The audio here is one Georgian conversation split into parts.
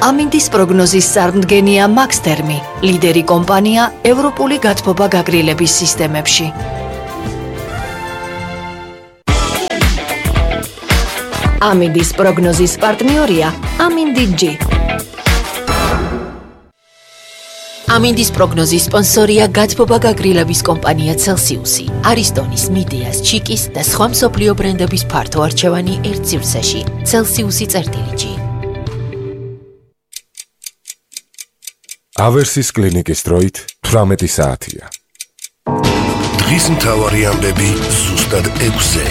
ამინდის პროგნოზის წარმდგენია მაქსთერმი, ლიდერი კომპანია ევროპული გათბობა გაგრილების სისტემებში. ამინდის პროგნოზის პარტნიორია ამინდი-G. ამინდის პროგნოზის სპონსორია გათბობა გაგრილების კომპანია Celsius-ი, არისტონის, მიდეას, ჩიკის და სხვა მსოფლიო ბრენდების ფართო არჩევანი ერთ სივრცეში. Celsius-G. ავერსის კლინიკის დროით 18 საათია. დღის მთავარი ამბები ზუსტად 6-ზე.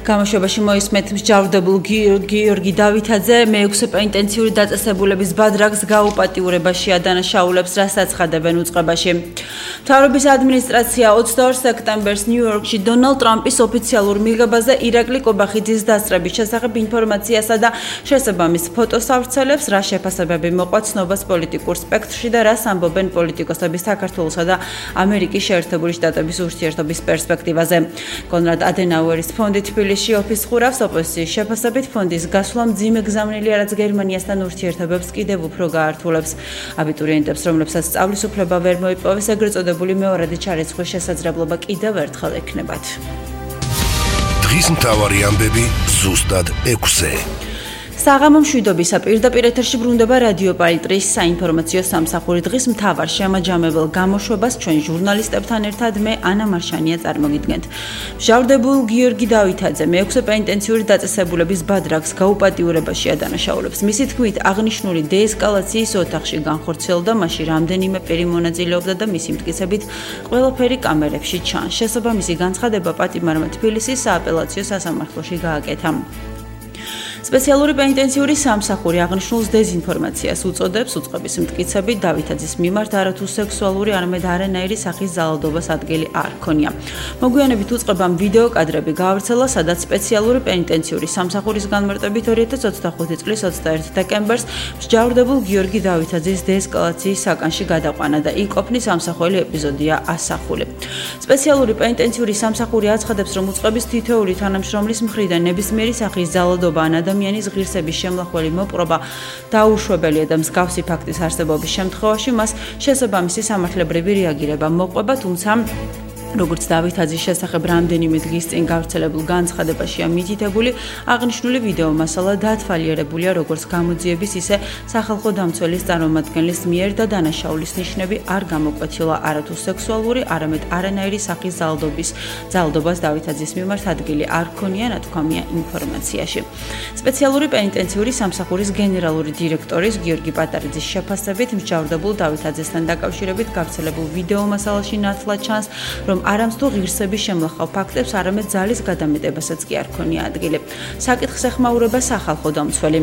გამოშვებაში მოისმენთ მსჯავრდებულ გიორგი დავითაძე მე-6 პენიტენციური დაწესებულების ბადრაგს გაუპატიურებაში ადანაშაულებს, რასაც ხადებენ უწყებაში. მთავრობის ადმინისტრაცია 22 სექტემბერს ნიუ-იორკში დონალდ ტრამპის ოფიციალურ მიღებაზე ირაკლი კობახიძის დასწრების შესახებ ინფორმაციასა და შესაბამის ფოტოს ავრცელებს, რა შეფასებები მოყვა ცნობას პოლიტიკურ სპექტრში და რას ამბობენ პოლიტიკოსები საქართველოსა და ამერიკის შეერთებული შტატების ურთიერთობის პერსპექტივაზე. კონრად ადენაუერის ფონდი თბილისში ოფისს ხურავს, ოპოზიციის შეფასებით ფონდის გასვლა მძიმე გზავნილია, რაც გერმანიასთან ურთიერთობებს კიდევ უფრო გაართულებს. აბიტურიენტებს, რომლებსაც სწავლის უფლება ვერ მოიპოვეს, ეგრეთ წოდებული მეორადი ჩარიცხვის შესაძლებლობა კიდევ ერთხელ ექნებათ. დღის მთავარი ამბები ზუსტად 6-ზე. საღამო მშვიდობისა პირდაპირ ეთერში ბრუნდება რადიო პალიტრის საინფორმაციო სამსახური. დღის მთავარ შემაჯამებელ გამოშვებას ჩვენ ჟურნალისტებთან ერთად მე ანა მარშანია წარმოგიდგენთ. მსჯავრდებულ გიორგი დავითაძე მე-6 პენიტენციური დაწესებულების ბადრაგს გაუპატიურებაში ადანაშაულებს. მისი თქმით, აღნიშნული დეესკალაციის ოთახში განხორციელდა, მაშინ რამდენიმე პირი მონაწილეობდა და მისი მტკიცებით ყველაფერი კამერებში ჩანს. შესაბამისი განცხადება პატიმარმა თბილისის სააპელაციო სასამართლოში გააკეთა. სპეციალური პენიტენციური სამსახური აღნიშნულს დეზინფორმაციას უწოდებს, უწყების მტკიცებით დავითაძის მიმართ არათუ სექსუალური, არამედ არანაირი სახის ძალადობას ადგილი არ ჰქონია. მოგვიანებით უწყებამ ვიდეო კადრები გაავრცელა, სადაც სპეციალური პენიტენციური სამსახურის განმარტებით 2025 წლის 21 დეკემბერს მსჯავრდებულ გიორგი დავითაძის დეესკალაციის საკანში გადაყვანა და იქ ყოფნის ამსახველი ეპიზოდია ასახული. სპეციალური პენიტენციური სამსახური აცხადებს, რომ უწყების თითოეული თანამშრომლის მხრიდან ნებისმიერი სახის ძალადობა ან ადამიანის ღირსების შემლახველი მოპყრობა დაუშვებელია და მსგავსი ფაქტის არსებობის შემთხვევაში მას შესაბამისი სამართლებრივი რეაგირება მოყვება, თუმცა როგორც დავითაძის შესახებ რამდენიმე დღის წინ გავრცელებულ განცხადებაშია მითითებული, აღნიშნული ვიდეო მასალა დაათვალიერებულია როგორც გამოძიების, ისე სახალხო დამცველის წარმომადგენლის მიერ და დანაშაულის ნიშნები არ გამოკვეთილა არათუ სექსუალური, არამედ არანაირი სახის ძალადობას დავითაძის მიმართ ადგილი არ ჰქონია, ნათქვამია ინფორმაციაში. სპეციალური პენიტენციური სამსახურის გენერალური დირექტორის გიორგი პატარიძის შეფასებით, მსჯავრდებულ დავითაძესთან დაკავშირებით გავრცელებულ ვიდეო მასალაში ნათლად ჩანს, რომ არამც თუ ღირსების შემლახავ ფაქტებს, არამედ ძალის გადამეტებასაც კი არ ჰქონია ადგილი. საკითხს ეხმაურება სახალხო დამცველი.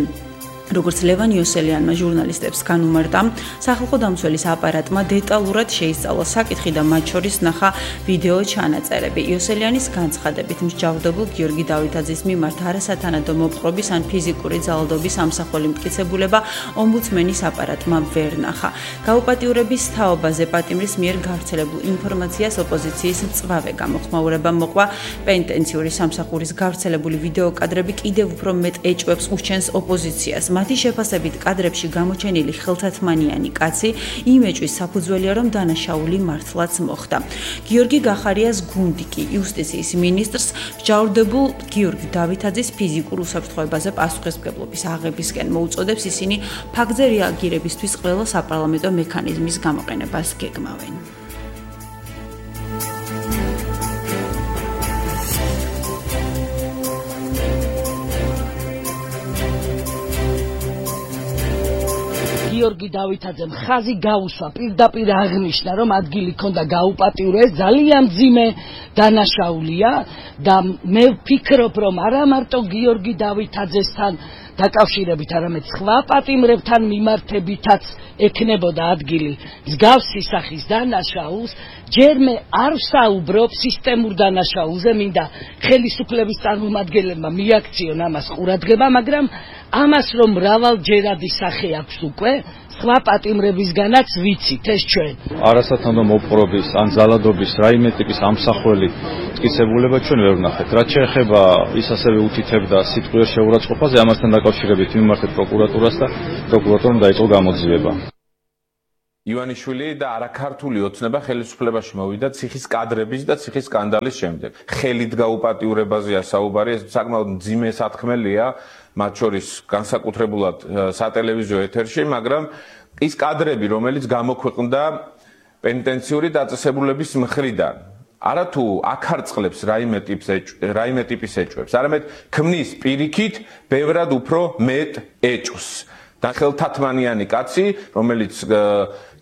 როგორც ლევან იოსელიანმა ჟურნალისტებს განუმარტა, სახალხო დამცველის აპარატმა დეტალურად შეისწავლა საკითხი და მათ შორის ნახა ვიდეო ჩანაწერები. იოსელიანის განცხადებით, მსჯავრდებულ გიორგი დავითაძის მიმართ არასათანადო მოპყრობის ან ფიზიკური ძალადობის ამსახველი მტკიცებულება ომბუდსმენის აპარატმა ვერ ნახა. გაუპატიურების თაობაზე პატიმრის მიერ გავრცელებულ ინფორმაციას ოპოზიციის მწვავე გამოხმაურება მოყვა. პენიტენციური სამსახურის გავრცელებული ვიდეო კადრები კიდევ უფრო მეტ ეჭვებს ურჩენს ოპოზიციას. მათი შეფასებით კადრებში გამოჩენილი ხელთათმანიანი კაცი იმ ეჭვის საფუძველია, რომ დანაშაული მართლაც მოხდა. გიორგი გახარიას გუნდი კი იუსტიციის მინისტრს მსჯავრდებულ გიორგი დავითაძის ფიზიკურ უსაფრთხოებაზე პასუხისმგებლობის აღებისკენ მოუწოდებს, ისინი ფაქტზე რეაგირებისთვის ყველა საპარლამენტო მექანიზმის გამოყენებას გეგმავენ. გიორგი დავითაძემ ხაზი გაუსვა, პირდაპირ აღნიშნა, რომ ადგილი ქონდა გაუპატიურეს, ძალიან მძიმე დანაშაულია და მე ვფიქრობ, რომ არა მარტო გიორგი დავითაძესთან დაკავშირებით, არამედ სხვა პატიმრებთან მიმართებითაც ექნებოდა ადგილი მსგავსი სახის დანაშაულს. ჯერ მე არ ვსაუბრობ სისტემურ დანაშაულზე, მინდა ხელისუფლების წარმომადგენლებმა მიაქციონ ამას ყურადღება, მაგრამ ამას რომ მრავალჯერადი სახე აქვს უკვე, სხვა პატიმრებისგანაც ვიცით ეს ჩვენ. არასათანადო მოპყრობის ან ზალადობის რაიმე ტიპის ამსახველი მტკიცებულება ჩვენ ვერ ვნახეთ. რაც შეეხება ის ასევე უთითებდა სიტყვიერ შეურაცხყოფაზე, ამასთან დაკავშირებით მიმართეთ პროკურატურას და პროკურატურამ დაიწყო გამოძიება. ივანიშვილი და არაქართული ოცნება ხელისუფლებაში მოვიდა ციხის კადრების და ციხის სკანდალის შემდეგ. ხელით გაუპატიურებაზეა საუბარი, ეს საკმაოდ მძიმე სათქმელია, მათ შორის განსაკუთრებულად სატელევიზიო ეთერში, მაგრამ ის კადრები, რომელიც გამოქვეყნდა პენიტენციური დაწესებულების მხრიდან, არათუ აქარწყლებს რაიმე ტიპის ეჭვებს, არამედ ქმნის პირიქით ბევრად უფრო მეტ ეჭვს. და ხელთათმანიანი კაცი, რომელიც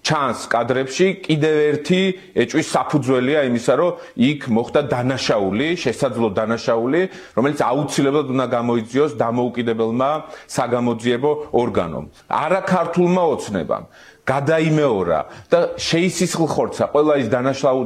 ჩანს კადრებში, კიდევ ერთი ეჭვის საფუძველია იმისა, რომ იქ მოხდა დანაშაული, შესაძლო დანაშაული, რომელიც აუცილებლად უნდა გამოიძიოს დამოუკიდებელმა საგამოძიებო ორგანომ. არაქართულმა ოცნებამ გადაიმეორა და შეისისხლხორცა ყველა ის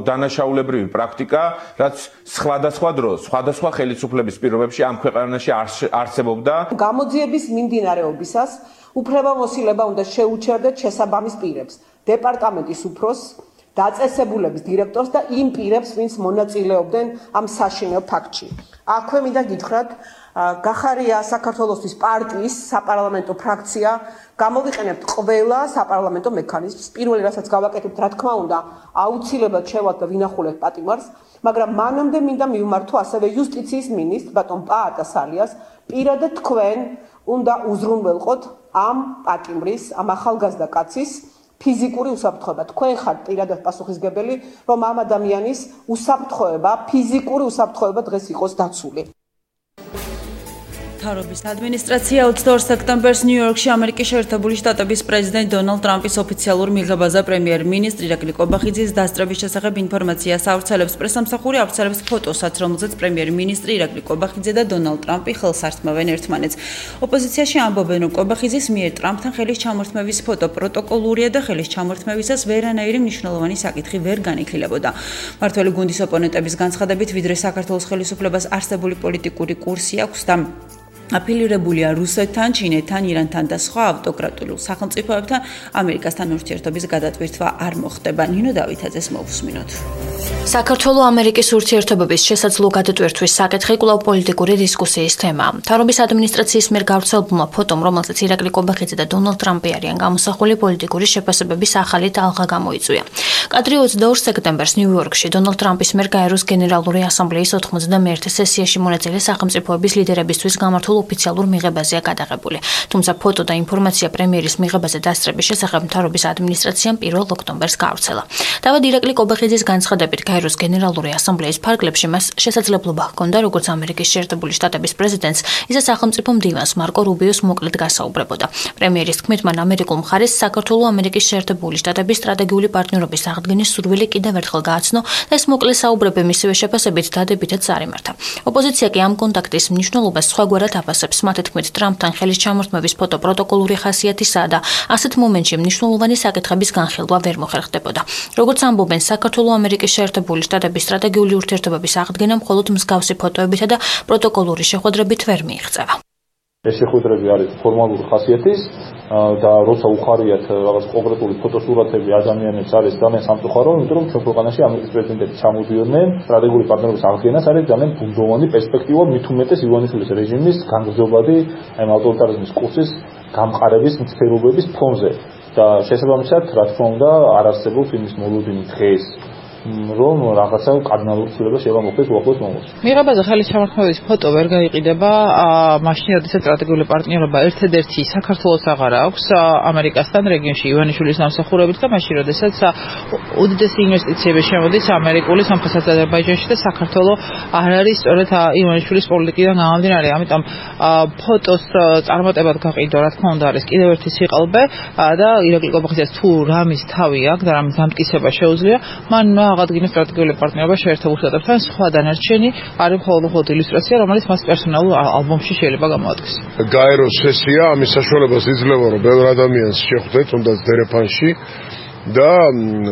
დანაშაულებრივი პრაქტიკა, რაც სხვადასხვა დროს, სხვადასხვა ხელისუფლების პირობებში ამ ქვეყანაში არსებობდა. გამოძიების მიმდინარეობისას უფლებამოსილება უნდა შეუჩერდეთ შესაბამის პირებს, დეპარტამენტის უფროსს, დაწესებულების დირექტორს და იმ პირებს, ვინც მონაწილეობდნენ ამ საშინაო ფაქტში. აქვე მინდა გითხრათ, გახარია საქართველოსთვის პარტიის საპარლამენტო ფრაქცია, გამოვიყენებთ ყველა საპარლამენტო მექანიზმს. პირველი, რასაც გავაკეთებთ, რა თქმა უნდა, აუცილებლად შევალთ და ვინახულებთ პატიმარს, მაგრამ მანამდე მინდა მივმართო ასევე იუსტიციის მინისტრ ბატონ პაატასალიას, პირადად თქვენ უნდა უზრუნველყოთ ამ პატიმრის, ამ ახალგაზრდა კაცის ფიზიკური უსაფრთხოება. თქვენ ხართ პირადად პასუხისმგებელი, რომ ამ ადამიანის უსაფრთხოება, ფიზიკური უსაფრთხოება დღეს იყოს დაცული. მთავრობის ადმინისტრაცია 22 სექტემბერს ნიუ-იორკში ამერიკის შეერთებული შტატების პრეზიდენტ დონალდ ტრამპის ოფიციალურ მიღებაზე პრემიერ-მინისტრი ირაკლი კობახიძის დასწრების შესახებ ინფორმაციას ავრცელებს. პრესამსახური ავრცელებს ფოტოსაც, რომელზეც პრემიერ-მინისტრი ირაკლი კობახიძე და დონალდ ტრამპი ხელს ართმევენ ერთმანეთს. ოპოზიციაში ამბობენ, რომ კობახიძის მიერ ტრამპთან ხელის ჩამორთმევის ფოტო პროტოკოლურია და ხელის ჩამორთმევისას ვერანაირი მნიშვნელოვანი საკითხი ვერ განიხილებოდა. მმართველი გუნდის ოპონენტების განცხადებით, ვიდრე საქართველოს ხელისუფლებას არსებული პოლიტიკური კურსი აქვს და აფილირებულია რუსეთთან, ჩინეთთან, ირანთან და სხვა ავტოკრატიულ სახელმწიფოებთან, ამერიკასთან ურთიერთობის გადატვირთვა არ მოხდება. ნინო დავითაძეს მოვუსმინოთ. საქართველო-ამერიკის ურთიერთობების შესაძლო გადატვირთვის საკითხი კვლავ პოლიტიკური დისკუსიის თემაა. მთავრობის ადმინისტრაციის მიერ გავრცელებულმა ფოტომ, რომელზეც ირაკლი კობახიძე და დონალდ ტრამპი არიან გამოსახული, პოლიტიკური შეფასებების ახალი ტალღა გამოიწვია. კადრი 22 სექტემბერს ნიუ-იორკში დონალდ ტრამპის მიერ გაეროს გენერალური ასამბლეის 91 სესიაში მონაწილე სახელმწიფოების ლიდერებისთვის გამართულ ოფიციალურ მიღებაზეა გადაღებული. თუმცა ფოტო და ინფორმაცია პრემიერის მიღებაზე დასწრების შესახებ მთავრობის ადმინისტრაციამ 1 ოქტომბერს გაავრცელა. თავად ირაკლი კობახიძის განცხადებით, გაეროს გენერალური ასამბლეის ფარგლებში მას შესაძლებლობა ჰქონდა, როგორც ამერიკის შეერთებული შტატების პრეზიდენტს, ისე სახელმწიფო მდივანს მარკო რუბიოს მოკლედ გასაუბრებოდა. პრემიერის თქმით, მან ამერიკულ მხარეს საქართველო-ამერიკის შეერთებული შტატების სტრატეგიული პარტნიორობის აღდგენის სურვილი კიდევ ერთხელ გააცნო და ეს მოკლე საუბრები მისივე შეფასებით დადებითად წარიმართა. ოპოზიცია კი ამ კონტაქტის მნიშვნელობას სხვაგვარად აფასებს. მათი თქმით, ტრამპთან ხელის ჩამორთმევის ფოტო პროტოკოლური ხასიათისაა და ასეთ მომენტში მნიშვნელოვანი საკითხების განხილვა ვერ მოხერხდებოდა. როგორც ამბობენ, საქართველო-ამერიკის შეერთებული შტატების სტრატეგიული ურთიერთობების აღდგენა მხოლოდ მსგავსი ფოტოებითა და პროტოკოლური შეხვედრებით ვერ მიიღწევა. ეს შეხვედრები არის ფორმალური ხასიათის და როცა უხარიათ რაღაც კონკრეტული ფოტოსურათები ადამიანებს არის ძალიან სამწუხარო, იმიტომ რომ ჩვენ ქვეყანაში ამერიკის პრეზიდენტები ჩამოდიოდნენ, სტრატეგიული პარტნიორობის აღდგენას არის ძალიან ბუნდოვანი პერსპექტივა, მით უმეტეს ივანიშვილის რეჟიმის განგრძობადი აი ავტორიტარიზმის კურსის გამყარების მცდელობების ფონზე და შესაბამისად, რა თქმა უნდა, არ არსებობს იმის მოლოდინი დღეს, რომ რაღაცა კარდინალური ცვლილება შეიძლება მოხდეს უახლოეს მომავალში. მიღებაზე ხელის ჩამორთმევის ფოტო ვერ გაიყიდება მაშინ, როდესაც სტრატეგიული პარტნიორობა ერთადერთი საქართველოს აღარ აქვს ამერიკასთან რეგიონში ივანიშვილის დამსახურებით და მაშინ, როდესაც უდიდესი ინვესტიციები შემოდის ამერიკული სამხრეთ აზერბაიჯანში და საქართველო არ არის სწორედ ივანიშვილის პოლიტიკიდან გამომდინარე. ამიტომ ფოტოს წარმატებად გაყიდვა, რა თქმა უნდა, არის კიდევ ერთი სიყალბე და ირაკლი კობახიძეს თუ რამის თავი აქვს და რამის დამტკიცება შეუძლია, მან აღადგინა სტრატეგიული პარტნიორობა შეერთებულ შტატებთან, სხვა დანარჩენი არის მხოლოდ ილუსტრაცია, რომელიც მას პერსონალურ ალბომში შეიძლება გამოადგეს. გაეროს სესია ამის საშუალებას იძლევა, რომ ბევრ ადამიანს შეხვდეთ, თუნდაც დერეფანში და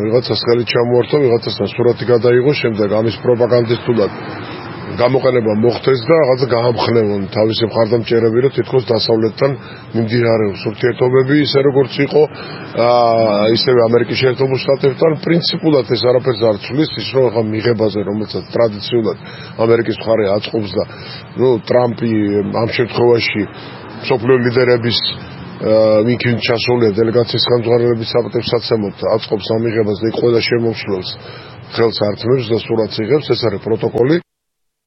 ვიღაცას ხელი ჩამოართვა, ვიღაცასთან სურათი გადაიღო, შემდეგ ამის პროპაგანდისტულად გამოყენება მოხდეს და რაღაცა გაამხნევონ თავისი მხარდამჭერები, რომ თითქოს დასავლეთთან მიმდინარეობს ურთიერთობები, ისე როგორც იყო ისევე ამერიკის შეერთებულ შტატებთან. პრინციპულად ეს არაფერს არ ცვლის, ის რომ ახლა მიღებაზე, რომელსაც ტრადიციულად ამერიკის მხარე აწყობს და ტრამპი ამ შემთხვევაში მსოფლიო ლიდერების მიქინ ჩასულია დელეგაციის განწყობილების საპატივსაცემად აწყობს ამ მიღებას და ყველა შემომსვლელს ხელს ართმევს და სურათს იღებს, ეს არის პროტოკოლი.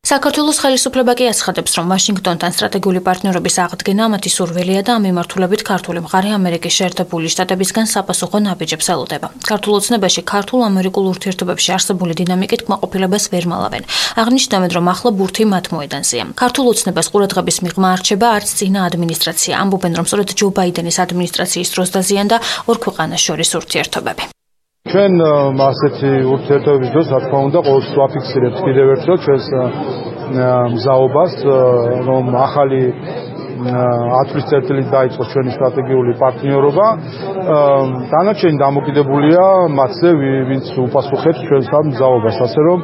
საქართველოს ხელისუფლება კი აცხადებს, რომ ვაშინგტონთან სტრატეგიული პარტნიორობის აღდგენა მათი სურვილია და ამ მიმართულებით ქართული მხარე ამერიკის შეერთებული შტატებისგან საპასუხო ნაბიჯებს ელოდება. ქართულ ოცნებაში ქართულ-ამერიკულ ურთიერთობებში არსებული დინამიკით კმაყოფილებას ვერ მალავენ. აღნიშნავენ, რომ ახლა ბურთი მათ მოედანზეა. ქართულ ოცნებას ყურადღების მიღმა არჩება არც წინა ადმინისტრაცია. ამბობენ, რომ სწორედ ჯო ბაიდენის ადმინისტრაციის დროს დაზიანდა ორ ქვეყანას შორის ურთიერთობები. ჩვენ ასეთი ურთიერთობების დროს, რა თქმა უნდა, ყოველთვის ვაფიქსირებთ კიდევ ერთხელ ჩვენს მზაობას, რომ ახალი 10 წელიწადით დაიწყო ჩვენი სტრატეგიული პარტნიორობა. დანარჩენი დამოკიდებულია მათზე, ვინც უპასუხებს ჩვენს ამ მზაობას, ასე რომ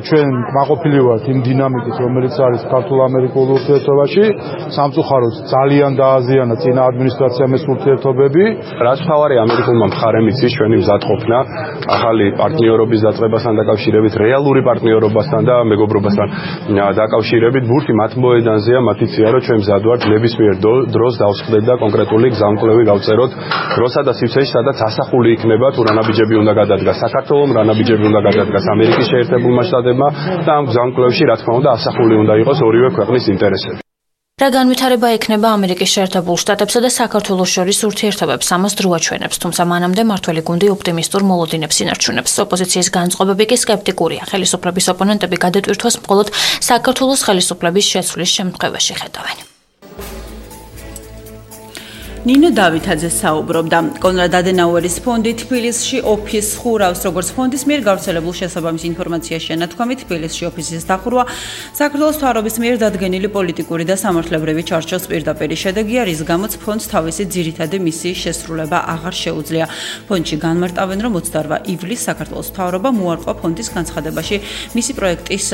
ჩვენ კმაყოფილი ვართ იმ დინამიკით, რომელიც არის ქართულ-ამერიკულ ურთიერთობაში. სამწუხაროდ ძალიან დააზიანა წინა ადმინისტრაციამ ეს ურთიერთობები. რაც მთავარი ამერიკულმა მხარემ იცის ჩვენი მზადყოფნა ახალი პარტნიორობის დაწყებასთან დაკავშირებით, რეალური პარტნიორობასთან და მეგობრობასთან დაკავშირებით, ბურთი მათ მოედანზეა, მათ იციან, რომ ჩვენ მზად ვართ ნებისმიერ დროს დავსხდეთ და კონკრეტული გზამკვლევი გავწეროთ, როსა და სივრცეში, სადაც ასახული იქნება თუ რა ნაბიჯები უნდა გადადგას საქართველომ, რა ნაბიჯები უნდა გადადგას ამერიკის შეერთებულმა შტატებმა და ამ გზამკვლევში, რა თქმა უნდა, ასახული უნდა იყოს ორივე ქვეყნის ინტერესები. რა განვითარება ექნება ამერიკის შეერთებულ შტატებსა და საქართველოს შორის ურთიერთობებს, ამას დრო აჩვენებს, თუმცა მანამდე მართველი გუნდი ოპტიმისტურ მოლოდინებს ინარჩუნებს. ოპოზიციის განწყობები კი სკეპტიკურია. ხელისუფლების ოპონენტები გადატვირთვას მხოლოდ საქართველოს ხელისუფლების შეცვლის შემთხვევაში ხედავენ. ნინო დავითაძე საუბრობდა. კონრად ადენაუერის ფონდი თბილისში ოფისს ხურავს, როგორც ფონდის მიერ გავრცელებულ შესაბამის ინფორმაციაში შენათქვამით, თბილისში ოფისის დახურვა საქართველოს მთავრობის მიერ დადგენილი პოლიტიკური და სამართლებრივი ჩარჩოს პირდაპირი შედეგია, რის გამოც ფონდს თავისი ძირითადი მისიის შესრულება აღარ შეუძლია. ფონდში განმარტავენ, რომ 28 ივლისს საქართველოს მთავრობა მოარყვა ფონდის განცხადებაში მისი პროექტების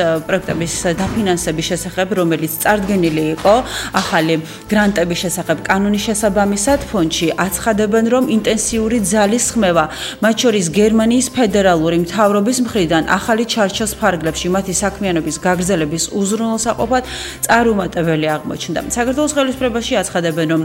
დაფინანსების შესახებ, რომელიც წარდგენილი იყო ახალი გრანტების შესახებ კანონის შესაბამისად. ფონდში აცხადებენ, რომ ინტენსიური ძალის ხმევა, მათ შორის გერმანიის ფედერალური მთავრობის მხრიდან ახალი ჩარჩოს ფარგლებში მათი საქმიანობის გაგრძელების უზრუნველსაყოფად წარუმატებელი აღმოჩნდა. საქართველოს ხელისუფლებაში აცხადებენ, რომ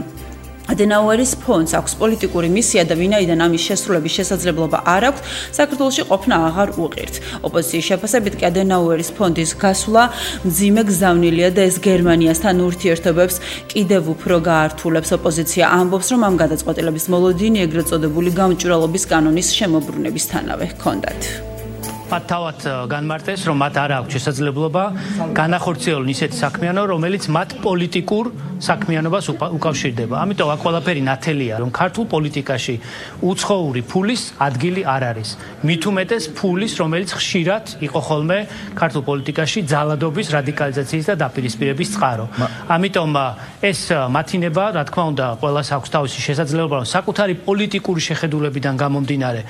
ადენაუერის ფონდს აქვს პოლიტიკური მისია და ვინაიდან ამის შესრულების შესაძლებლობა არ აქვს, საქართველოში ყოფნა აღარ უღირთ. ოპოზიციის შეფასებით კი ადენაუერის ფონდის გასვლა მძიმე გზავნილია და ეს გერმანიასთან ურთიერთობებს კიდევ უფრო გაართულებს. ოპოზიცია ამბობს, რომ ამ გადაწყვეტილების მოლოდინი ეგრეთ წოდებული გამჭვირვალობის კანონის შემოbrunებისთანავე ჰქონდათ. მათ თავად განმარტეს, რომ მათ არ აქვს შესაძლებლობა განახორციელონ ისეთი საქმიანობა, რომელიც მათ პოლიტიკურ საქმიანობას უკავშირდება. ამიტომ აქ ყველაფერი ნათელია, რომ ქართულ პოლიტიკაში უცხოური ფულის ადგილი არ არის. მით უმეტეს ფულის, რომელიც ხშირად იყო ხოლმე ქართულ პოლიტიკაში ძალადობის, რადიკალიზაციის და დაპირისპირების წყარო. ამიტომ ეს მათინება, რა თქმა უნდა, ყველას აქვს თავისი შესაძლებლობა, რომ საკუთარი პოლიტიკური შეხედულებიდან გამომდინარე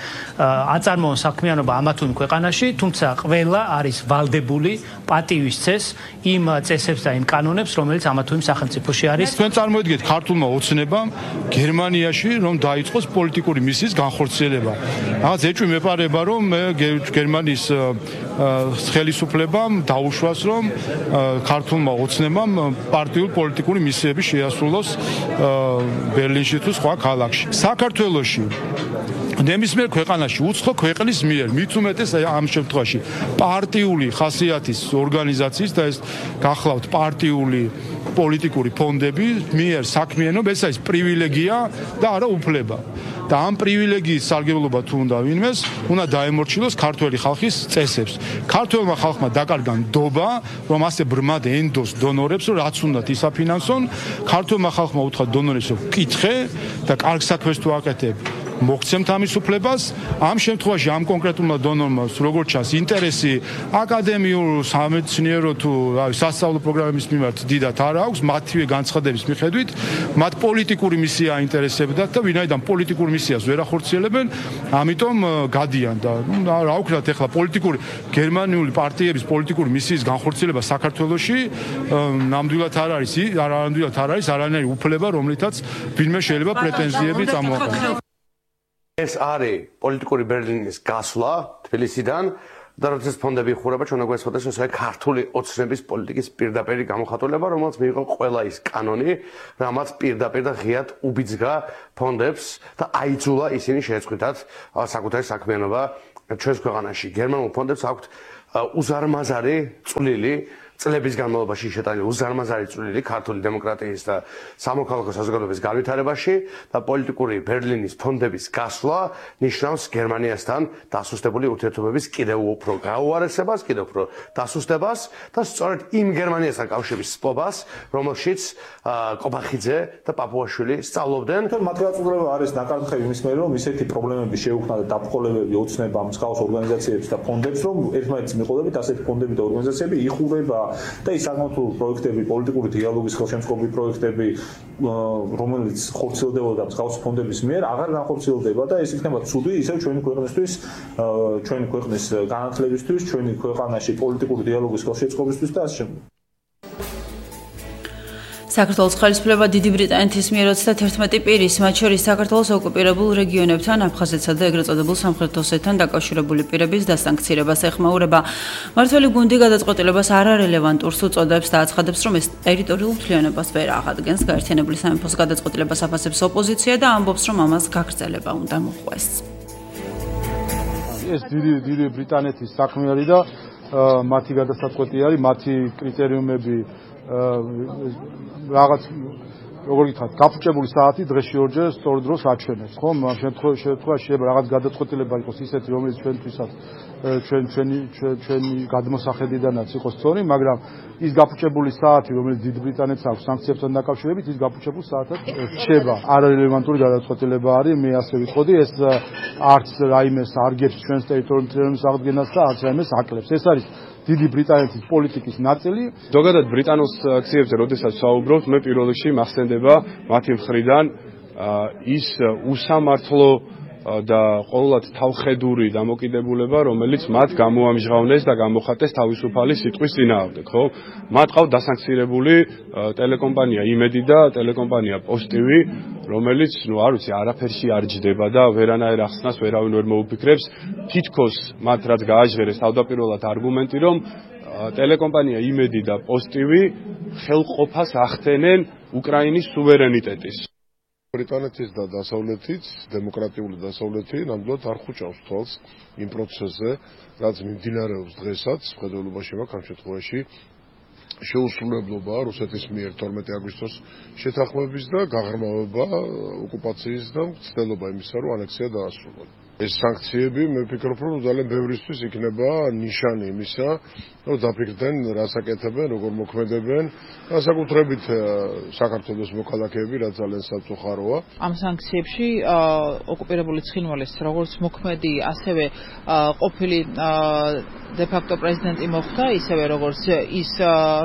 აწარმოონ საქმიანობა ამა თუ იმ ქვეყანაში, თუმცა ყველა არის ვალდებული პატივისცეს იმ წესებს და იმ კანონებს, რომელიც ამა თუ იმ სახელმწიფოში არის. ჩვენ წარმოიდგეთ ქართულმა ოცნებამ გერმანიაში რომ დაიწყოს პოლიტიკური მისიის განხორციელება. რაღაც ეჭვი მეპარება, რომ გერმანიის ხელისუფლებამ დაუშვას, რომ ქართულმა ოცნებამ პარტიულ პოლიტიკური მისიები შეასრულოს ბერლინში თუ სხვა ქალაქში. საქართველოში ნებისმიერ ქვეყანაში უცხო ქვეყნის მიერ მით უმეტეს ამ შემთხვევაში პარტიული ხასიათის ორგანიზაციის და ეს გახლავთ პარტიული პოლიტიკური ფონდები მიერ საქმიანობა, ეს არის პრივილეგია და არა უფლება. და ამ პრივილეგიის სარგებლობა თუ უნდა ვინმეს, უნდა დაემორჩილოს ქართველი ხალხის წესებს. ქართველმა ხალხმა დაკარგა ნდობა, რომ ასე ბრმად ენდოს დონორებს, რომ რაც უნდათ ისაფინანსონ. ქართველმა ხალხმა უთხრა დონორებს, რომ კითხე და კარგ საქმეს თუ აკეთებ, მოგვცემთ ამის უფლებას. ამ შემთხვევაში ამ კონკრეტულმა დონორმა როგორც ჩანს ინტერესი აკადემიურ სამეცნიერო თუ სასწავლო პროგრამების მიმართ დიდად არ აქვს, მათივე განცხადების მიხედვით, მათ პოლიტიკური მისია აინტერესებდათ და ვინაიდან პოლიტიკურ მისიას ვერ ახორციელებენ, ამიტომ გადიან და რა ვქნათ ახლა პოლიტიკური გერმანიული პარტიების პოლიტიკური მისიის განხორციელება საქართველოში ნამდვილად არ არის არანაირი უფლება, რომლითაც ვინმე შეიძლება პრეტენზიები წამოაყენოს. ეს არის პოლიტიკური ბერლინის გასვლა თბილისიდან და როდესაც ფონდები იხურება ჩვენ აგვესწრებს ეს ქართული ოცნების პოლიტიკის პირდაპირი გამოხატულება, რომელსაც მიიღო ყველა ის კანონი, რამაც პირდაპირ და ღიად უბიძგა ფონდებს და აიძულა ისინი შეეწყვიტათ საკუთარი საქმიანობა ჩვენს ქვეყანაში. გერმანულ ფონდებს აქვთ უზარმაზარი წვლილი წლების განმავლობაში შეტანილი უზარმაზარი წვლილი ქართული დემოკრატიის და სამოქალაქო საზოგადოების განვითარებაში და პოლიტიკური ბერლინის ფონდების გასვლა ნიშნავს გერმანიასთან დასუსტებული ურთიერთობების კიდევ უფრო გაუარესებას, კიდევ უფრო დასუსტებას და სწორედ იმ გერმანიასთან კავშირის სპობას, რომელშიც კობახიძე და პაპუაშვილი სწავლობდნენ. მათ გაწუდება არის ნაკართხევი იმის მიერ, რომ ისეთი პრობლემები შეუქმნა და დაპყრობები ოცნება მსგავს ორგანიზაციებს და ფონდებს, რომ ერთმანეთის მიყოლებით ასეთი ფონდები და ორგანიზაციები იხურება და ის საკმაოდ პროექტები, პოლიტიკური დიალოგის ხელშემწყობი პროექტები, რომელიც ხორციელდებოდა მსგავსი ფონდების მიერ, აღარ განხორციელდება და ეს იქნება ცუდი ისევ ჩვენი ქვეყნისთვის, ჩვენი ქვეყნის განათლებისთვის, ჩვენი ქვეყანაში პოლიტიკური დიალოგის ხელშემწყობისთვის და ასე შემდეგ. საქართველოს ხელისუფლება დიდი ბრიტანეთის მიერ 31 პირის, მათ შორის საქართველოს ოკუპირებულ რეგიონებთან, აფხაზეთსა და ეგრეთ წოდებულ სამხრეთ ოსეთთან დაკავშირებული პირების დასანქცირებას ეხმაურება. მმართველი გუნდი გადაწყვეტილებას არარელევანტურს უწოდებს და აცხადებს, რომ ეს ტერიტორიულ მთლიანობას ვერ აღადგენს. გაერთიანებული სამეფოს გადაწყვეტილებას აფასებს ოპოზიცია და ამბობს, რომ ამას გაგრძელება უნდა მოხდეს. ეს დიდი ბრიტანეთის საქმე არის და მათი გადასაწყვეტი არის, მათი კრიტერიუმები რაღაც როგორ გითხრათ, გაფუჭებული საათი დღეში ორჯერ სწორ დროს აჩვენებს, ხო? ამ შემთხვევაში შეიძლება რაღაც გადაწყვეტილება იყოს ისეთი, რომელიც ჩვენთვისაც ჩვენი გადმოსახედიდანაც იყოს სწორი, მაგრამ ის გაფუჭებული საათი, რომელიც დიდ ბრიტანეთს აქვს სანქციებთან დაკავშირებით, ის გაფუჭებულ საათად რჩება. არარელევანტური გადაწყვეტილება არის, მე ასე ვიტყოდი, ეს არც რაიმეს არ გებს ჩვენს ტერიტორიების აღდგენას და არც რაიმეს აკლებს. ეს არის დიდი ბრიტანეთის პოლიტიკის ნაწილი. ზოგადად ბრიტანულ აქციებზე, როდესაც საუბრობთ, მე პირველ რიგში მახსენდება მათი მხრიდან ის უსამართლო და ყოველად თავხედური დამოკიდებულება, რომელიც მათ გამოამჟღავნეს და გამოხატეს თავისუფალი სიტყვის წინააღმდეგ, ხო? მათ ყავთ დასანქცირებული ტელეკომპანია იმედი და ტელეკომპანია პოსტივი, რომელიც, არ ვიცი, არაფერში არ ჯდება და ვერანაირ ახსნას ვერავინ ვერ მოუფიქრებს. თითქოს მათ რაც გააჟღერეს თავდაპირველად არგუმენტი, რომ ტელეკომპანია იმედი და პოსტივი ხელყოფას ახდენენ უკრაინის სუვერენიტეტის. ბრიტანეთის და დასავლეთის დემოკრატიული დასავლეთი ნამდვილად არ ხუჭავს თვალს იმ პროცესზე, რაც მიმდინარეობს დღესაც მხედველობაში მაქვს ამ შემთხვევაში შეუსრულებლობა რუსეთის მიერ 12 აგვისტოს შეთანხმების და გაღრმავება ოკუპაციის და მცდელობა იმისა, რომ ანექსია დაასრულოს. ეს სანქციები მე ვფიქრობ, რომ ძალიან ბევრისთვის იქნება ნიშანი იმისა, რომ დაფიქრდნენ რას აკეთებენ, როგორ მოქმედებენ, განსაკუთრებით საქართველოს მოქალაქეები, რაც ძალიან სამწუხაროა. ამ სანქციებში ოკუპირებული ცხინვალის როგორც მოქმედი, ასევე ყოფილი დე-ფაქტო პრეზიდენტი მოხდა, ისევე როგორც ის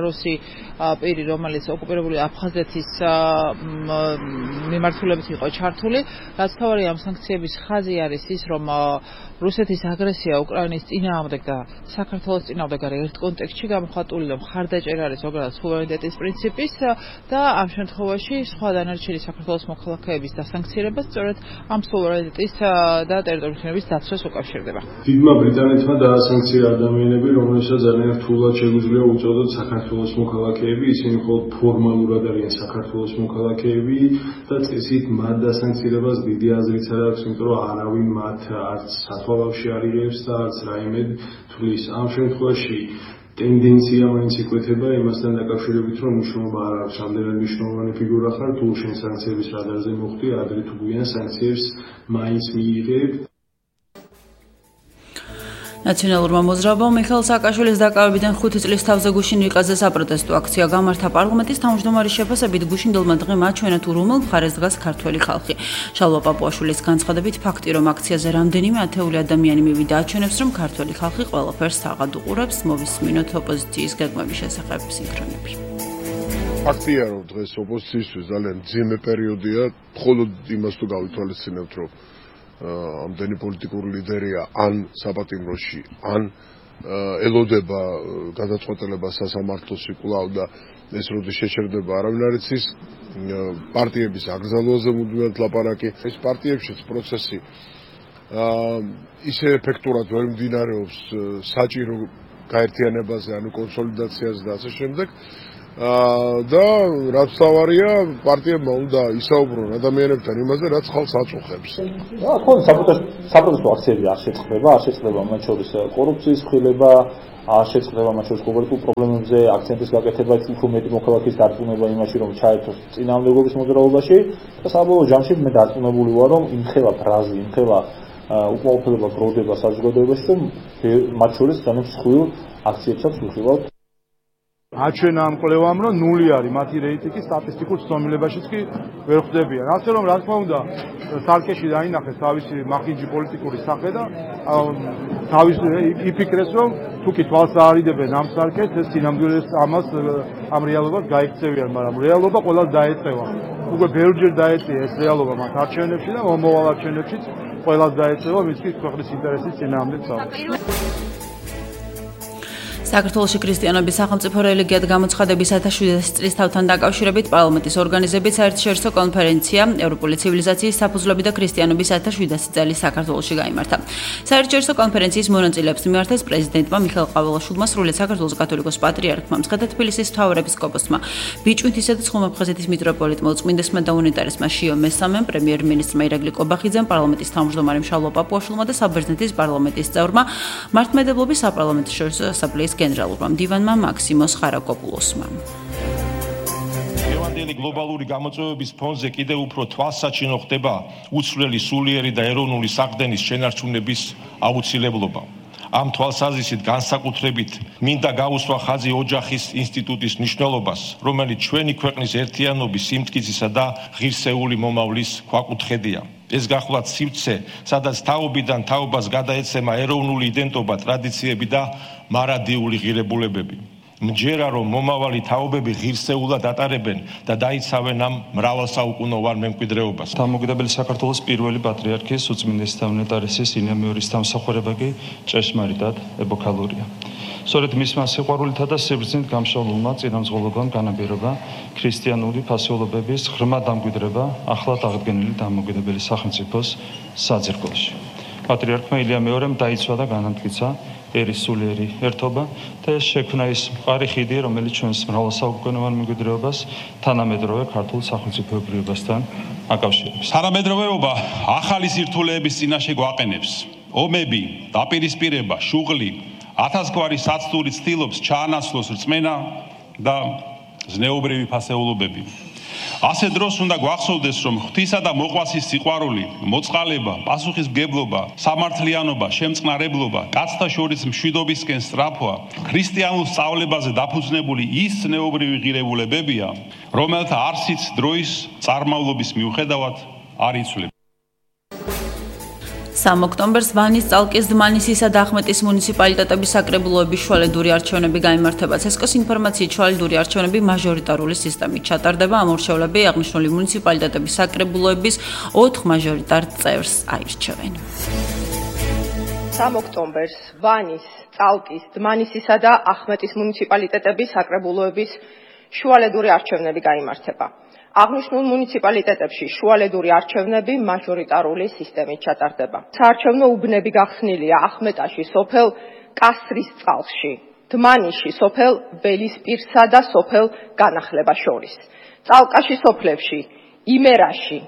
რუსი პირი, რომელიც ოკუპირებული აფხაზეთის მიმართულებით იყო ჩართული, რაც თავარი ამ სანქციების ხაზი არის ის, რომ რუსეთის აგრესია უკრაინის წინააღმდეგ და საქართველოს წინააღმდეგ არის ერთ კონტექსტში გამოხატული, რომ მხარდაჭერა არის ზოგადად სუვერენიტეტის პრინციპის და ამ შემთხვევაში სხვა დანარჩენი საქართველოს მოქალაქეების დასანქცირება სწორედ ამ სუვერენიტეტის და ტერიტორიების დაცვას უკავშირდება. დიდმა ბრიტანეთმა დაასანქცია ადამიანები, რომელსაც ძალიან რთულად შეგვიძლია უწოდოთ საქართველოს მოქალაქეები, ისინი მხოლოდ ფორმალურად არიან საქართველოს მოქალაქეები და წესით მათ დასანქცირებას დიდი აზრიც არ აქვს, იმიტომ რომ არავინ მათ არც სათვალავში არ იღებს და არც რაიმე თulis. ამ შემთხვევაში ტენდენცია მაინც იკვეთება იმასთან დაკავშირებით, რომ მნიშვნელობა არ აქვს, რამდენად მნიშვნელოვანი ფიგურა ხარ, თუ შენ სანქციების რადარზე მოხდი, ადრე თუ გვიან სანქციებს მაინც მიიღებ. ნაციონალურმა მოძრაობამ მიხეილ სააკაშვილის დაკავებიდან 5 წლის თავზე გუშინ რიყაზე საპროტესტო აქცია გამართა პარლამენტის თავმჯდომარის შეფასებით გუშინდელმა დღემ აჩვენა თუ რომელ მხარეს დგას ქართველი ხალხი. შალვა პაპუაშვილის განცხადებით ფაქტი რომ აქციაზე რამდენიმე ათეული ადამიანი მივიდა აჩვენებს რომ ქართველი ხალხი ყველაფერს თაღად უყურებს. მოვისმინოთ ოპოზიციის გეგმების შესახებ სინქრონები. ფაქტია რომ დღეს ოპოზიციისთვის ძალიან ძიმე პერიოდია, მხოლოდ იმას თუ გავითვალისწინებთ რომ ამდენი პოლიტიკური ლიდერია ან საპატიმროში, ან ელოდება გადაწყვეტილებას სასამართლოში კვლავ და ეს როდის შეჩერდება არავინ არ იცის. პარტიების აკრძალვაზე მუდმივად ლაპარაკი. ეს პარტიებშიც პროცესი ისე ეფექტურად ვერ მიმდინარეობს საჭირო გაერთიანებაზე, ანუ კონსოლიდაციაზე და ასე შემდეგ. და რაც თავარია პარტიებმა უნდა ისაუბრონ ადამიანებთან იმაზე, რაც ხალხს აწუხებს. ხო, საპროტესტო აქციები არ შეწყდება, არ შეწყდება მათ შორის კორუფციის ხილება, არ შეწყდება მათ შორის კონკრეტულ პრობლემებზე აქცენტის გაკეთება, უფრო მეტი მოქალაქის დარწმუნება იმაში, რომ ჩაერთოს წინააღმდეგობის მოძრაობაში და საბოლოო ჯამში მე დარწმუნებული ვარ, რომ იმხელა ფრაზი, იმხელა უკმაყოფილება გროვდება საზოგადოებაში, რომ მათ შორის ძალიან მსხვილ აქციებსაც ვიხილავთ. აჩვენა ამ კვლევამ რომ ნული არის მათი რეიტინგი სტატისტიკურ ცნობილებაშიც კი ვერ ხვდებიან. ასე რომ რა თქმა უნდა სარკეში დაინახეს თავისი მახინჯი პოლიტიკური სახე და თავის იფიქრეს რომ თუ კი თვალს აარიდებენ ამ სარკეს ეს სინამდვილეს ამას ამ რეალობას გაიქცევიან, მაგრამ რეალობა ყველას დაეწევა. უკვე ბევრჯერ დაეწია ეს რეალობა მათ არჩევნებში და მომავალ არჩევნებშიც ყველას დაეწევა მისთვის ქვეყნის ინტერესის წინააღმდეგ საუბარი. საქართველოში ქრისტიანობის სახელმწიფო რელიგიად გამოცხადების 1700 წლის თავთან დაკავშირებით პარლამენტის ორგანიზებით საერთაშორისო კონფერენცია ევროპული ცივილიზაციის საფუძვლები და ქრისტიანობის 1700 წელი საქართველოში გაიმართა. საერთაშორისო კონფერენციის მონაწილეებს მიმართეს პრეზიდენტმა მიხეილ ყაველაშვილმა, სრულიად საქართველოს კათოლიკოს პატრიარქმა, მცხეთა თბილისის მთავარეპისკოპოსმა, ბიჭვინთისა და ცხუმაფხაზეთის მიტროპოლიტმა, უწმინდესმა და უნიტარესმა შიო მესამემ, პრემიერ-მინისტრმა ირაკლი კობახიძემ, პარლამენტის თავმჯდომარემ შალვა პაპუაშვილმა და საბერძნეთის პარლამენტის წევრმა მართლმადიდებლობის საპარლამენტო ასამბლეის გენერალურმა მდივანმა მაქსიმოს ხარაკოპულოსმა. ევანგელი გლობალური გამოწვევების ფონზე კიდევ უფრო თვალსაჩინო ხდება უცვლელი სულიერი და ეროვნული საყრდენის შენარჩუნების აუცილებლობა. ამ თვალსაზრისით განსაკუთრებით მინდა გავუსვა ხაზი ოჯახის ინსტიტუტის მნიშვნელობას, რომელიც ჩვენი ქვეყნის ერთიანობის, სიმტკიცისა და ღირსეული მომავლის ქვაკუთხედია. ეს გახლავთ სივრცე, სადაც თაობიდან თაობას გადაეცემა ეროვნული იდენტობა, ტრადიციები და მარადიული ღირებულებები. მჯერა რომ მომავალი თაობები ღირსეულად ატარებენ და დაიცავენ ამ მრავალსაუკუნოვან მემკვიდრეობას. დამოუკიდებელი საქართველოს პირველი პატრიარქის უწმინდესი და უნეტარესის ინემეორის დამსახურება კი ჭეშმარიტად ეპოქალურია. სწორედ მისმა სიყვარულითა და სიბრძნით გამშვალულმა წინამძღოლობამ განაპირობა ქრისტიანული ფასეულობების ღრმა დამკვიდრება ახლად აღდგენილი დამოუკიდებელი სახელმწიფოს საძირკველში. პატრიარქმა ილია მეორემ დაიცვა და განამტკიცა ერის სულიერი ერთობა და ეს შექმნა ის მყარი ხიდი, რომელიც ჩვენს მრავალსაუკუნოვან მემკვიდრეობას თანამედროვე ქართულ სახელმწიფოებრიობასთან აკავშირებს. თანამედროვეობა ახალი სირთულეების წინაშე გვაყენებს. ომები, დაპირისპირება, შუღლი, ათასგვარი საცდური ცდილობს ჩაანაცვლოს რწმენა და ზნეობრივი ფასეულობები. ასე დროს უნდა გვახსოვდეს, რომ ღვთისა და მოყვასის სიყვარული, მოწყალება, პასუხისმგებლობა, სამართლიანობა, შემწყნარებლობა, კაცთა შორის მშვიდობისკენ სწრაფვა, ქრისტიანულ სწავლებაზე დაფუძნებული ის ზნეობრივი ღირებულებებია, რომელთა არსიც დროის წარმავლობის მიუხედავად არ იცვლება. 3 ოქტომბერს ვანის, წალკის, დმანისისა და ახმეტის მუნიციპალიტეტების საკრებულოების შუალედური არჩევნები გაიმართება. ცესკოს ინფორმაციით შუალედური არჩევნები მაჟორიტარული სისტემით ჩატარდება. ამორჩევლები აღნიშნული მუნიციპალიტეტების საკრებულოების 4 მაჟორიტარ წევრს აირჩევენ. 3 ოქტომბერს ვანის, წალკის, დმანისისა და ახმეტის მუნიციპალიტეტების საკრებულოების შუალედური არჩევნები გაიმართება. აღნიშნულ მუნიციპალიტეტებში შუალედური არჩევნები მაჟორიტარული სისტემით ჩატარდება. საარჩევნო უბნები გახსნილია ახმეტაში სოფელ კასრის წყალში, დმანიში სოფელ ველისპირსა და სოფელ განახლება შორის, წალკაში სოფლებში იმერაში,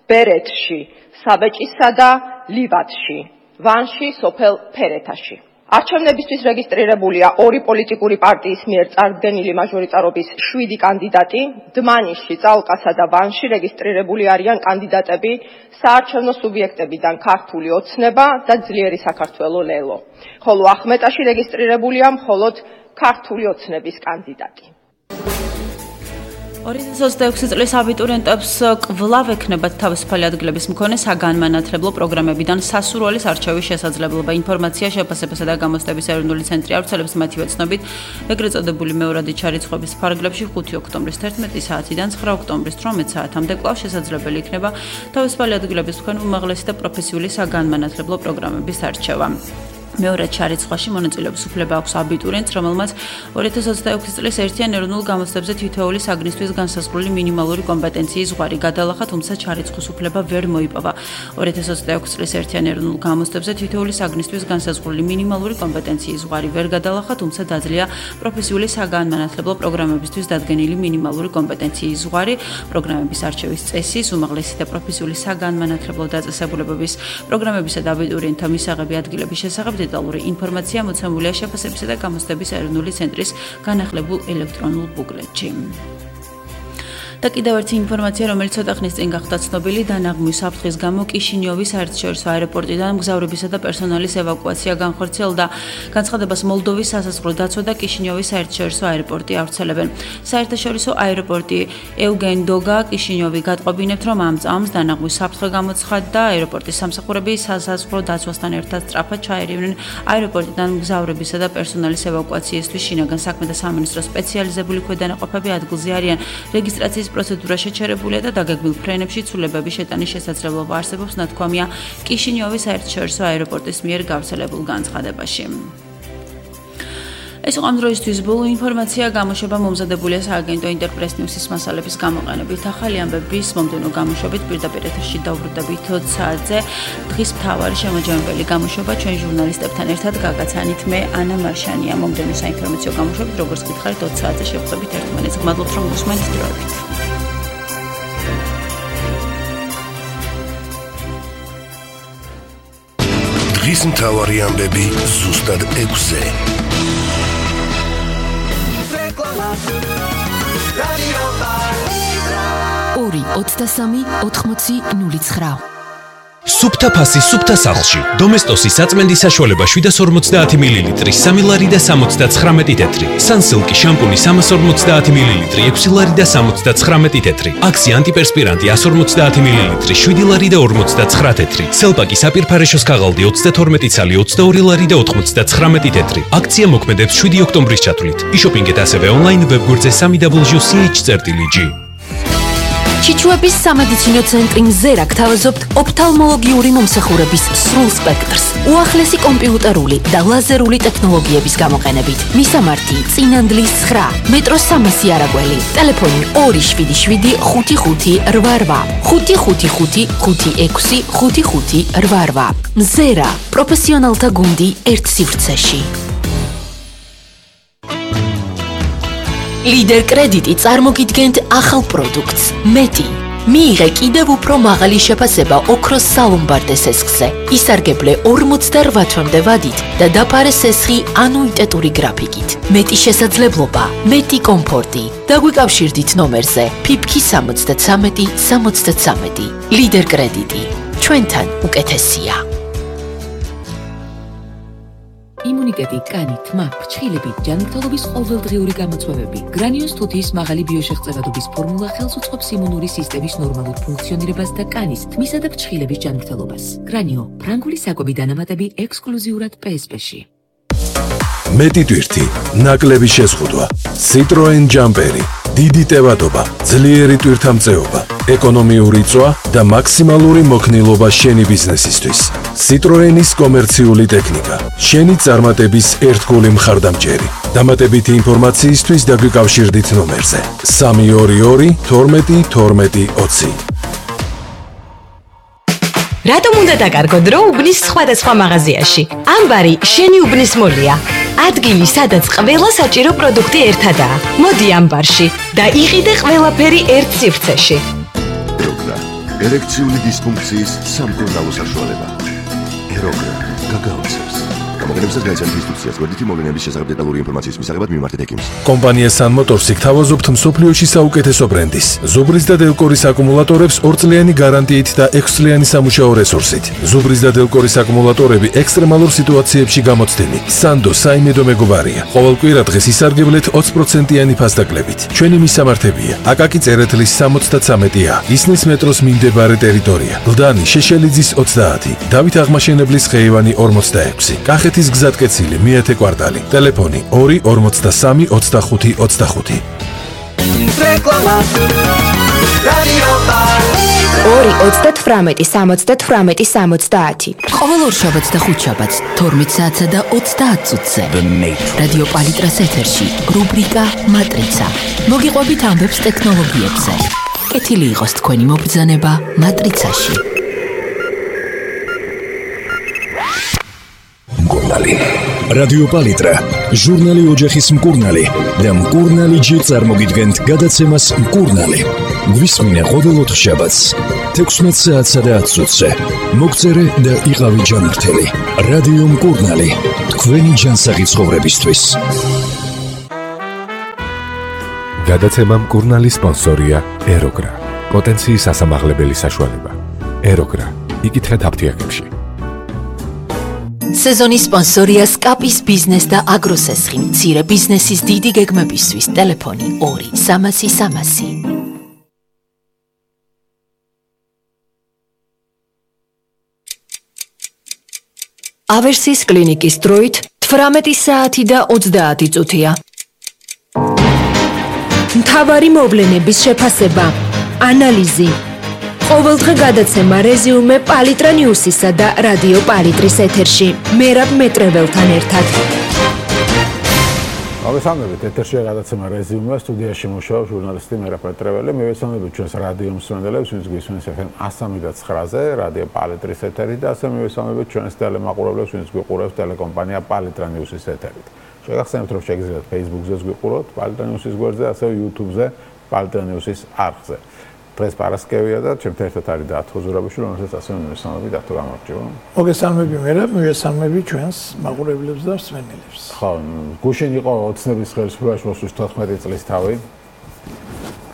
ბერეთში, საბეჭისა და ლივადში, ვანში სოფელ ფერეთაში. არჩევნებისთვის რეგისტრირებულია 2 პოლიტიკური პარტიის მიერ წარდგენილი მაჟორიტარობის 7 კანდიდატი, დმანისში, წალკასა და ვანში რეგისტრირებული არიან კანდიდატები საარჩევნო სუბიექტებიდან ქართული ოცნება და ძლიერი საქართველო ლელო. ხოლო ახმეტაში რეგისტრირებულია მხოლოდ ქართული ოცნების კანდიდატი. 2026 წლის აბიტურიენტებს კვლავ ექნებათ თავისუფალი ადგილების მქონე საგანმანათლებლო პროგრამებიდან სასურველის არჩევის შესაძლებლობა. ინფორმაცია შეფასებისა და გამოცდების ეროვნული ცენტრი ავრცელებს მათივე ცნობით, ეგრეთ წოდებული მეორადი ჩარიცხვების ფარგლებში 5 ოქტომბრის 11 საათიდან 9 ოქტომბრის 18 საათამდე კვლავ შესაძლებელი იქნება თავისუფალი ადგილების მქონე უმაღლესი და პროფესიული საგანმანათლებლო პროგრამების არჩევა. მეორე ჩარიცხვაში მონაწილეობის უფლება აქვს აბიტურიენტს, რომელმაც 2026 წლის ერთიან ეროვნულ გამოცდებზე თითოეული საგნისთვის განსაზღვრული მინიმალური კომპეტენციის ზღვარი გადალახა, თუმცა ჩარიცხვის უფლება ვერ მოიპოვა. 2026 წლის ერთიან ეროვნულ გამოცდებზე თითოეული საგნისთვის განსაზღვრული მინიმალური კომპეტენციის ზღვარი ვერ გადალახა, თუმცა დაძლია პროფესიული საგანმანათლებლო პროგრამებისთვის დადგენილი მინიმალური კომპეტენციის ზღვარი, პროგრამების არჩევის წესის, უმაღლესი და პროფესიული საგანმანათლებლო დაწესებულებების პროგრამებისა და აბიტურიენტთა მისაღები ადგილების შესახებ დეტალური ინფორმაცია მოცემულია შეფასებისა და გამოცდების ეროვნული ცენტრის განახლებულ ელექტრონულ ბუკლეტში. და კიდევ ერთი ინფორმაცია, რომელიც ცოტა ხნის წინ გახდა ცნობილი, დანაღმვის საფრთხის გამო კიშინიოვის საერთაშორისო აეროპორტიდან მგზავრებისა და პერსონალის ევაკუაცია განხორციელდა. განცხადებას მოლდოვის სასაზღვრო დაცვა და კიშინიოვის საერთაშორისო აეროპორტი ავრცელებენ. საერთაშორისო აეროპორტი ევგენ დოგა კიშინიოვი გატყობინებთ, რომ ამ წამს დანაღმვის საფრთხე გამოცხადდა. აეროპორტის სამსახურები სასაზღვრო დაცვასთან ერთად სწრაფად ჩაერივნენ აეროპორტიდან მგზავრებისა და პერსონალის ევაკუაციისთვის. შინაგან საქმეთა სამინისტროს სპეციალიზებული ქვედანაყოფები ადგილზე არიან. რეგისტრაციის პროცედურა შეჩერებულია და დაგეგმილ ფრენებში ცვლილებების შეტანის შესაძლებლობა არსებობს, ნათქვამია კიშინიოვის საერთაშორისო აეროპორტის მიერ გავრცელებულ განცხადებაში. ეს იყო ამ დროისთვის ბოლო ინფორმაცია, გამოშვება მომზადებულია სააგენტო ინტერპრეს ნიუსის მასალების გამოყენებით. ახალი ამბების მომდევნო გამოშვებით პირდაპირ ეთერში დავბრუნდებით 20 საათზე. დღის მთავარი შემაჯამებელი გამოშვება ჩვენ ჟურნალისტებთან ერთად გაგაცანით მე ანა მარშანია. მომდევნო საინფორმაციო გამოშვებით, როგორც გითხარით, 20 საათზე შევხვდებით ერთმანეთს. გმადლობთ, რომ გусმენთ დროებით. დღის მთავარი ამბები ზუსტად 6-ზე. 2-23-80-09. სუფთა ფასი სუფთა სახლში. დომესტოსის საწმენდის საშუალება 750 მლ, 3 ლარი და 79 თეთრი. სანსილკი შამპუნი 350 მლ, 6 ლარი და 79 თეთრი. აქსი ანტიპერსპირანტი 150 მლ, 7 ლარი და 59 თეთრი. სელპაკი საპირფარეშოს ქაღალდი 32 ცალი, 22 ლარი და 99 თეთრი. აქცია მოქმედებს 7 ოქტომბრის ჩათვლით. იშოპინგეთ ასევე ონლაინ ვებგვერდზე www.ch.ch.g. ჩიჩუების სამედიცინო ცენტრი მზერა გთავაზობთ ოფთალმოლოგიური მომსახურების სრულ სპექტრს, უახლესი კომპიუტერული და ლაზერული ტექნოლოგიების გამოყენებით. მისამართი: წინანდლის 9, მეტროს 300 არაგველი, ტელეფონი 277 55 88, 555 56 55 88. მზერა, პროფესიონალთა გუნდი ერთ სივრცეში. ლიდერ კრედიტი წარმოგიდგენთ ახალ პროდუქტს მეტი. მიიღე კიდევ უფრო მაღალი შეფასება ოქროს სალომბარდე სესხზე. ისარგებლე 48 თვემდე ვადით და დაფარე სესხი ანუიტეტური გრაფიკით. მეტი შესაძლებლობა, მეტი კომფორტი. დაგვიკავშირდით ნომერზე ფიფქი 73 73. ლიდერ კრედიტი. ჩვენთან უკეთესია. იმუნიტეტი, კანი, თმა, ფრჩხილები, ჯანმრთელობის ყოველდღიური გამოწვევები. გრანიოს თუთიის მაღალი ბიოშეღწევადობის ფორმულა ხელს უწყობს იმუნური სისტემის ნორმალურ ფუნქციონირებას და კანის, თმისა და ფრჩხილების ჯანმრთელობას. გრანიო, ფრანგული საკვები დანამატები ექსკლუზიურად PSP-ში. მეტი ტვირთი, ნაკლები შეზღუდვა, Citroen Jumperi, დიდი ტევადობა, ძლიერი ტვირთამწეობა, ეკონომიური წვა და მაქსიმალური მოქნილობა შენი ბიზნესისთვის. Citroenis კომერციული ტექნიკა, შენი წარმატების ერთგული მხარდამჭერი. დამატებითი ინფორმაციისთვის დაგვიკავშირდით ნომერზე 322 12 12 20. რატომ უნდა დაკარგო დრო უბნის სხვადასხვა მაღაზიაში? ამბარი შენი უბნის მოლია. ადგილი, სადაც ყველა საჭირო პროდუქტი ერთადაა. მოდი ამბარში და იყიდე ყველაფერი ერთ სივრცეში. ეროგრა, ერექციული დისფუნქციის სამკურნალო საშუალება. ეროგრა გაგაოცებს. გამოგონებისას გაიცანით ინსტრუქციას. გვერდითი მოვლენების შესახებ დეტალური ინფორმაციის მისაღებად მიმართეთ ექიმს. კომპანია Sun Motors-ი გთავაზობთ მსოფლიოში საუკეთესო ბრენდის. ზუბრის და დელკორის აკუმულატორებს 2 წლიანი გარანტიით და 6 წლიანი სამუშაო რესურსით. ზუბრის და დელკორის აკუმულატორები ექსტრემალურ სიტუაციებში გამოცდილი. Sando საიმედო მეგობარია. ყოველ კვირა დღეს ისარგებლეთ 20%-იანი ფასდაკლებით. ჩვენი მისამართებია: აკაკი წერეთლის 73-ა, ისნის მეტროს მიმდებარე ტერიტორია, გლდანი შეშელიძის 30, დავით აღმაშენებლის ხეივანი 46, კახეთის გზატკეცილი მეათე კვარტალი, ტელეფონი 2 43 25 25. რეკლამა რადიო პალიტ 2-38-70-70. ყოველ ორშაბათს და ხუთშაბათს 12 საათსა და 30 წუთზე რადიო პალიტრას ეთერში რუბრიკა მატრიცა. მოგიყვებით ამბებს ტექნოლოგიებზე. კეთილი იყოს თქვენი მობრძანება მატრიცაში. მკურნალი. რადიო პალიტრა, ჟურნალი ოჯახის მკურნალი და მკურნალი ჯი წარმოგიდგენთ გადაცემას მკურნალი. გვისმინე ყოველ ოთხშაბათს 16 საათსა და 10 წუთზე. მოგწერე და იყავი ჯანმრთელი. რადიო მკურნალი, თქვენი ჯანსაღი ცხოვრებისთვის. გადაცემა მკურნალის სპონსორია ეროგრა. პოტენციის ასამაღლებელი საშუალება. ეროგრა. იკითხეთ აფთიაქებში. სეზონის სპონსორია სკაპის ბიზნეს და აგროსესხი. მცირე ბიზნესის დიდი გეგმებისთვის ტელეფონი 2 300 300. ავერსის კლინიკის დროით 18 საათი და 30 წუთია. მთავარი მოვლენების შეფასება, ანალიზი. ყოველდღე გადაცემა რეზიუმე პალიტრა ნიუსისა და რადიო პალიტრის ეთერში. მერაბ მეტრეველთან ერთად. მოგესალმებით, ეთერშია გადაცემა რეზიუმე, სტუდიაში მუშაობს ჟურნალისტი მერაბ მეტრეველი. მივესალმებით ჩვენს რადიო მსმენელებს, ვინც გვისმენს FM 103.9-ზე, რადიო პალიტრის ეთერით და ასე მივესალმებით ჩვენს ტელემაყურებლებს, ვინც გვიყურებს ტელეკომპანია პალიტრა ნიუსის ეთერით. შეგახსენებთ, რომ შეგიძლიათ Facebook-ზეც გვიყუროთ, პალიტრა ნიუსის გვერდზე, ასევე YouTube-ზე, პალიტრა ნიუსის არხზე. დღეს პარასკევია და ჩემთან ერთად არის დათო ზურაბიშვილი, რომელსაც ასე მივესალმებით, დათო გამარჯობა. მოგესალმები მერაბ, მივესალმები ჩვენს მაყურებლებს და მსმენელებს. ხო, გუშინ იყო ოცნების ხელისუფლებაში მოსვლის 14 წლის თავი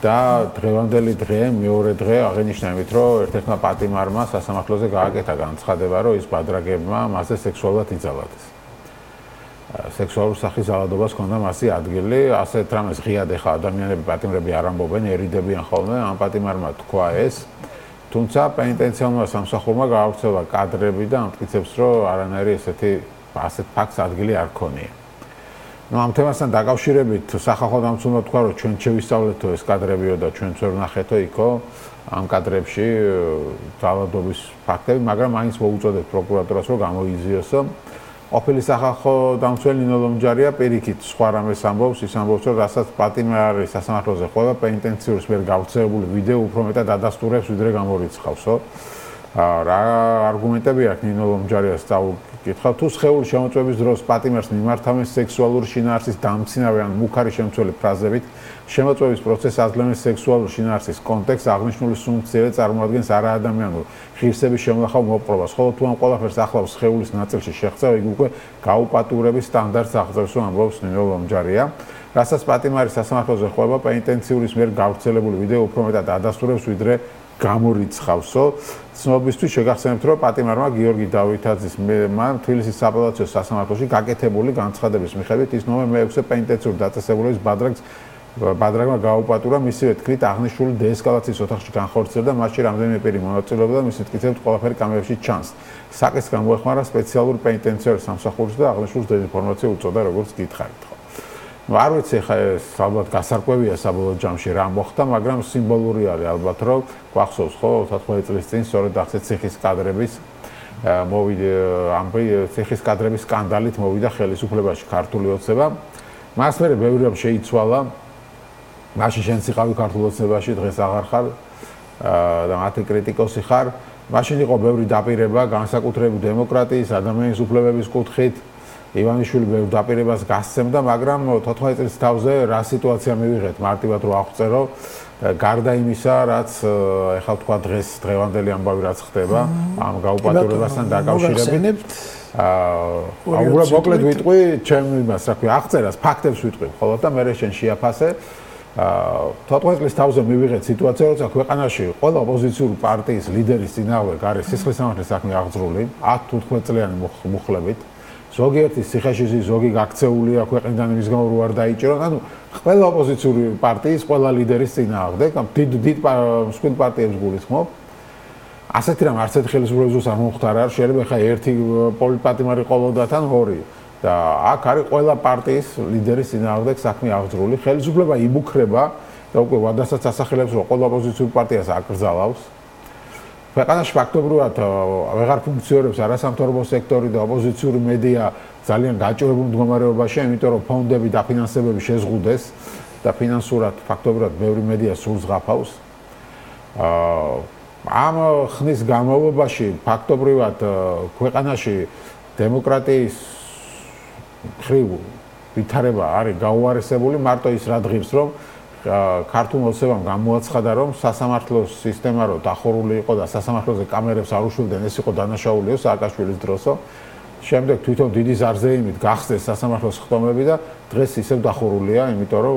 და დღევანდელი დღე, მეორე დღე აღინიშნა იმით, რომ ერთ-ერთმა პატიმარმა სასამართლოზე გააკეთა განცხადება, რომ ის ბადრაგებმა მასზე სექსუალურად იძალადეს. სექსუალურ სახის ძალადობას ჰქონდა მასი ადგილი, ასეთ რამეს ღიად ეხა ადამიანები პატიმრები არ ამბობენ, ერიდებიან ხოლმე, ამ პატიმარმა თქვა ეს, თუმცა პენიტენციარმა სამსახურმა გაავრცელა კადრები და ამტკიცებს, რომ არანაირი ასეთ ფაქტს ადგილი არ ქონია. ამ თემასთან დაკავშირებით სახალხო დამცველმა თქვა, რომ ჩვენ შევისწავლეთო ეს კადრებიო და ჩვენც ვერ ვნახეთო იქო ამ კადრებში ძალადობის ფაქტები, მაგრამ მაინც მოუწოდეთ პროკურატურას, რომ გამოიძიოსო. ყოფილი სახალხო დამცველი ნინო ლომჯარია პირიქით სხვა რამეს ამბობს, ის ამბობს, რომ რასაც პატიმარი სასამართლოზე ყვება, პენიტენციურის მიერ გავრცელებული ვიდეო უფრო მეტად ადასტურებს, ვიდრე გამორიცხავსო. რა არგუმენტები აქვს ნინო ლომჯარიას წავკითხავ, თუ სხეულის შემოწმების დროს პატიმარს მიმართავენ სექსუალური შინაარსის დამცინავი ან მუქარი შემცველი ფრაზებით, შემოწმების პროცესს აძლევენ სექსუალური შინაარსის კონტექსტს, აღნიშნული სუნქციები წარმოადგენს არაადამიანურ ღირსების შემონახავ მოპყრობას, ხოლო თუ ამ ყველაფერს ახლავს სხეულის ნაწილში შეღწევა, იგი უკვე გაუპატიურების სტანდარტს აღწევს, ამბობს ნინო ლომჯარია. რასაც პატიმარი სასამართლოზე ყვება, პენიტენციურის მიერ გავრცელებული ვიდეო უფრო მეტად ადასტურებს, ვიდრე გამორიცხავსო. ცნობისთვის შეგახსენებთ, რომ პატიმარმა გიორგი დავითაძის მან თბილისის საპელაციო სასამართლოში გაკეთებული განცხადების მიხედვით ის ნოემბერ 6-ზე პენიტენციური დაწესებულების ბადრაგმა გააუპატურა, მისივე თქმით აღნიშნული დეესკალაციის ოთახში განხორციელდა, მასში რამდენიმე პირი მონაწილეობდა და მისი თქმით ყველაფერი კამერებში ჩანს. საკითხს გამოეხმარა სპეციალური პენიტენციური სამსახურის და აღნიშნულ დეინფორმაცია უწოდა, როგორც გითხარით. არ ვიცი ხა ეს ალბათ გასარკვევია საბოლოო ჯამში რა მოხდა, მაგრამ სიმბოლური არის ალბათ, რომ გვახსოვს ხო 14 წლის წინ სწორედ ახეთ ციხის კადრების ციხის კადრების სკანდალით მოვიდა ხელისუფლებაში ქართული ოცნება. მას მერე ბევრი რამ შეიცვალა. მაშინ შენც იყავი ქართულ ოცნებაში, დღეს აღარ ხარ და მათი კრიტიკოსი ხარ. მაშინ იყო ბევრი დაპირება, განსაკუთრებით დემოკრატიის, ადამიანის უფლებების კუთხით. ივანიშვილი ბევრ დაპირებას გასცემდა, მაგრამ 14 წლის თავზე რა სიტუაცია მივიღეთ მარტივად რო აღწერო, გარდა იმისა, რაც ეხლა თქვა დღევანდელი ამბავი რაც ხდება, ამ გაუპატიურებასთან დაკავშირებით. უბრალოდ მოკლედ ვიტყვი, ჩემი იმას, რა ქვია, აღწერას, ფაქტებს ვიტყვი, ხოლო და მე შენ შეაფასე. 14 წლის თავზე მივიღეთ სიტუაცია, როცა ქვეყანაში ყველა ოპოზიციური პარტიის ლიდერის წინააღმდეგ არის სისხლისამართლის საქმე აღძრული, 10-15 წლიანი მუხლებით. ზოგიერთი ციხეში, ზოგი გაქცეულია ქვეყნიდან იმის გამო რო არ დაიჭირონ, ანუ ყველა ოპოზიციური პარტიის ყველა ლიდერის წინააღმდეგ, დიდ მსხვილ პარტიებს გულისხმობ. ასეთი რამ არც ერთ ხელისუფლებას არ მომხდარა, შეიძლება ხა ერთი პოლიტპატიმარი ყოლოდათ ან ორი. და აქ არის ყველა პარტიის ლიდერის წინააღმდეგ საქმე აღძრული. ხელისუფლება იმუქრება და უკვე ვადასაც ასახელებს, რომ ყველა ოპოზიციური პარტიას აკრძალავს. ქვეყანაში ფაქტობრივად ვეღარ ფუნქციონირებს არასამთავრობო სექტორი და ოპოზიციური მედია ძალიან გაჭირებულ მდგომარეობაშია, იმიტომ რომ ფონდები და ფინანსებები შეზღუდეს და ფინანსურად ფაქტობრივად ბევრი მედია სულს ღაფავს. ამ ხნის განმავლობაში ფაქტობრივად ქვეყანაში დემოკრატიის ხრივ ვითარება არის გაუარესებული, მარტო ის რა დღის რომ ქართულ მოცემამ გამოაცხადა რომ სასამართლოს სისტემა რო დახურული იყო და სასამართლოზე კამერებს არ უშვილდნენ, ეს იყო დანაშაულიო სააკაშვილის დროსო. შემდეგ თვითონ დიდი ზარზეიმით გახსნეს სასამართლოს ხტომები და დღეს ისევ დახურულია, იმიტომ რომ